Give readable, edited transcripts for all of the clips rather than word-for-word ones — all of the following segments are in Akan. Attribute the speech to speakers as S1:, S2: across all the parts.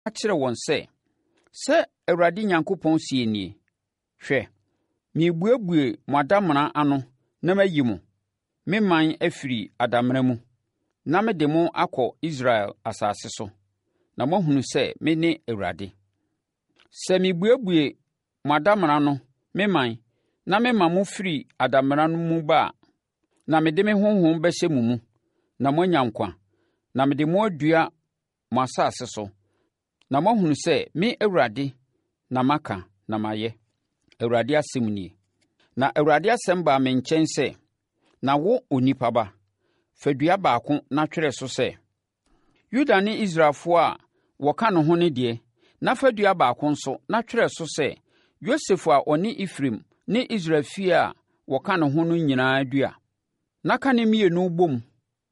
S1: kyerɛ wɔn sɛ, ‘Sɛ Awurade Nyankopɔn seɛ nie: Hwɛ, merebuebue mo adamena ano na mayi mo, me ɔman afiri adamena mu, na mede mo akɔ Israel asase so, na moahunu sɛ mene Awurade. Sɛ mebuebue mo adamena ano, me ɔman, na mema mo firi adamena no mu ba a, na mede me Honhom bɛhyɛ mo mu, na moanya nkwa, na mede mo adua mo asase so, na moahunu sɛ me Awurade na maka na mayɛ, Awurade asɛm nie. Na Awurade asɛm baa me nkyɛn sɛ, Na wo, onipa ba, fa dua baako na twerɛ so sɛ, Yuda ne Israelfoɔ a wɔka ne ho no deɛ, na fa dua baako nso na twerɛ so sɛ, Yosef a ɔne Efraim ne Israel fie a wɔka ne ho no nyinaa dua. Na ka ne mmienu bom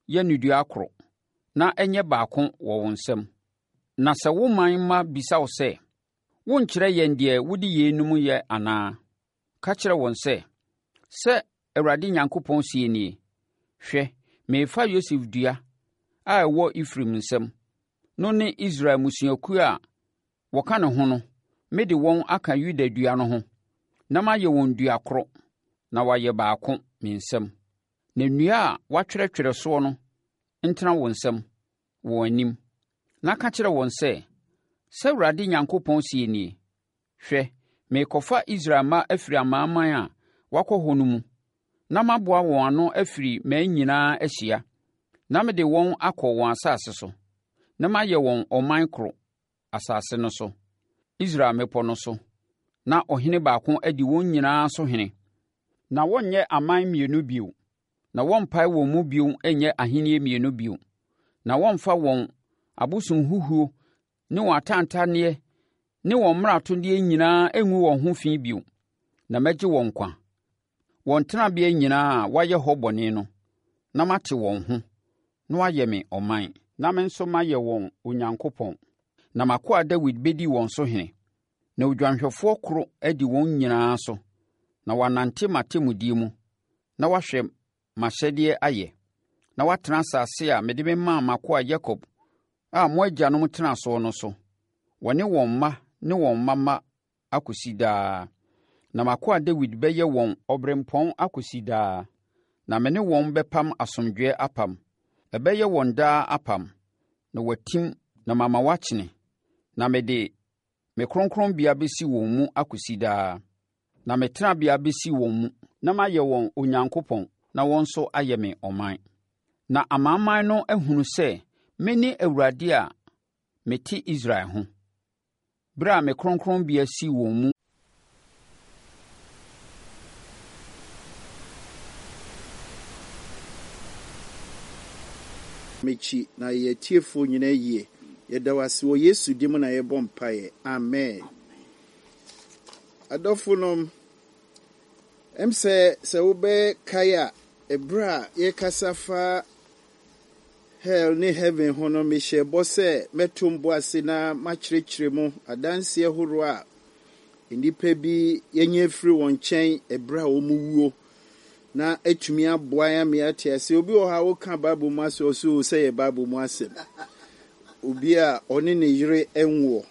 S1: yɛ no dua koro, na ɛnyɛ baako wɔ wo nsam. Na sɛ wo man mma bisa wo sɛ, 'Worenkyerɛ yɛn deɛ wode yeinom yɛ anaa?' Ka kyerɛ wɔn sɛ, 'Sɛ Awurade Nyankopɔn seɛ nie, Hwɛ, merefa Yosef dua a ɛwɔ Efraim nsam no ne Israel mmusuakuo a wɔka ne ho no mede wɔn aka Yuda dua no ho, na mayɛ wɔn dua koro, na wɔayɛ baako me nsam. Na nnua a woatwerɛtwerɛ soɔ no ntena wo nsam, wɔn anim. Na ka kyerɛ wɔn sɛ, 'Sɛ Awurade Nyankopɔn seɛ nie, Hwɛ, merekɔfa Israel mma afiri amanaman a wɔakɔ hɔ no mu, na maboa wɔn ano afiri mmaa nyinaa ahyia, na mede wɔn akɔ wɔn asase so, na mayɛ wɔn ɔman koro asase no so, Israel mmepɔ no so, na ɔhene baako adi wɔn nyinaa so hene. Na wɔrenyɛ aman mmienu bio, na wɔrempae wɔn mu bio nyɛ ahennie mmienu bio, na wɔremfa wɔn abosonhuhuo ne wɔn atantanneɛ ne wɔn mmaratodeɛ nyinaa ngu wɔn ho fi bio, na mɛgye wɔn nkwa, wɔn tenabea nyinaa a wɔayɛ hɔ bɔne no, na mate wɔn ho, na wɔayɛ me ɔman, na me nso mayɛ wɔn Onyankopɔn. Na m'akoa Dawid bɛdi wɔn so hene, na odwanhwɛfoɔ koro adi wɔn nyinaa so, na wɔanante m'atemmudeɛ mu, na wɔahwɛ m'ahyɛdeɛ ayɛ, na wɔatena asase a mede memaa m'akoa Yakob a mo agyanom tenaa soɔ no so, wɔne wɔn mma ne wɔn mma mma akɔsi daa. Na m'akoa Dawid bɛyɛ wɔn ɔberempɔn akɔsi daa, na me ne wɔn bɛpam asomdwoeɛ apam. Ɛbɛyɛ wɔn daa apam, na wɔatim na mama wɔakyene, na mede Me kronkronbea bɛsi wɔn mu akɔsi daa, na me tenabea bɛsi wɔn mu, na mayɛ wɔn Onyankopɔn, na wɔn nso ayɛ me ɔman. Na amanaman no ahunu sɛ mene Awurade a mete Israel ho, berɛ a me kronkronbea si wɔn mu.
S2: Mekyi na yɛ atiefoɔ nyinaa yie. Yɛda wo ase wɔ Yesu din mu na yɛbɔ mpaeɛ. Amen. Adɔfonom, ɛm sɛ sɛ wobɛkae a, ɛberɛ a yɛkasa fa hell ne heaven ho no, mehyɛ bɔ sɛ mɛto mbo ase na makyerɛkyerɛ mu adanseɛ horoɔ a nnipa bi yɛnya afiri wɔn nkyɛn ɛberɛ a wɔn wuo na atumi aboa yɛn ama yɛate ase. Obi wɔ hɔ a woka Bible mu asɛm ɔsɛ o sɛ yɛ Bible mu asɛm. Obi a ɔne ne yere nwoɔ.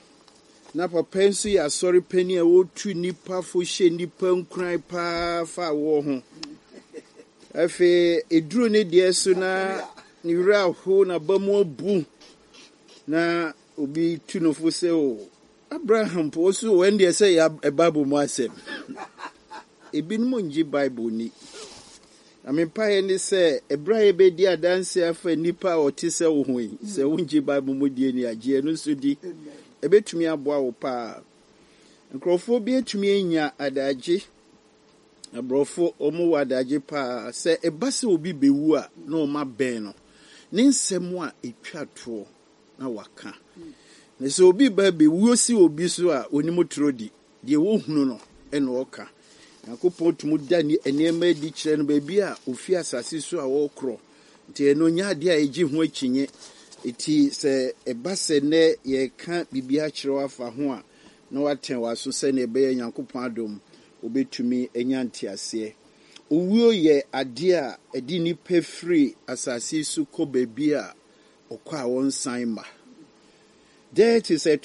S2: Na papa yi nso yɛ asɔre panin a ɔtu nnipa fo hyɛ nnipa nkuran paa fa awoɔ ho. Afei ɛduru ne deɛ so na ne werɛ aho n'aba mu abu na obi tu no fo sɛ o Abraham po ɔso o ɛndeɛ sɛ yɛ Bible mu asɛm. Ebinom ngye Bible nni. Na me mpaeɛ ne sɛ ɛberɛ a yɛbɛdi adanse afa nnipa a wɔte sɛ wo ho yi, sɛ wongye Bible mu die ni a, gye ɛno nso di. Ɛbɛtumi aboa wo paa. Nkurɔfoɔ bi atumi anya adagye, aborɔfo wɔn wɔ adagye paa, sɛ ɛba sɛ obi bɛwu a na wɔn abɛn no. Ne nsɛm a ɛtwa toɔ na waka. Na sɛ obi ba bɛwuo si obi so a, ɔnim toro di. Deɛ ɔhunu no na ɔka. Nyankopɔn tumi da nneɛma adi kyerɛ no baabi a ofi asase so a ɔrekorɔ. Nti ɛno nyɛ adeɛ a ɛgye ho akyinnye. Enti sɛ ɛba sɛ nnɛ yɛreka biribi akyerɛ wo afa ho a, na woatɛn w'aso sɛdeɛ ɛbɛyɛ Nyankopɔn adom wobɛtumi anya nteaseɛ. Owuo yɛ adeɛ a ɛde nnipa firi asase so kɔ baabi a ɔkɔ a ɔnsan mma. Death is a.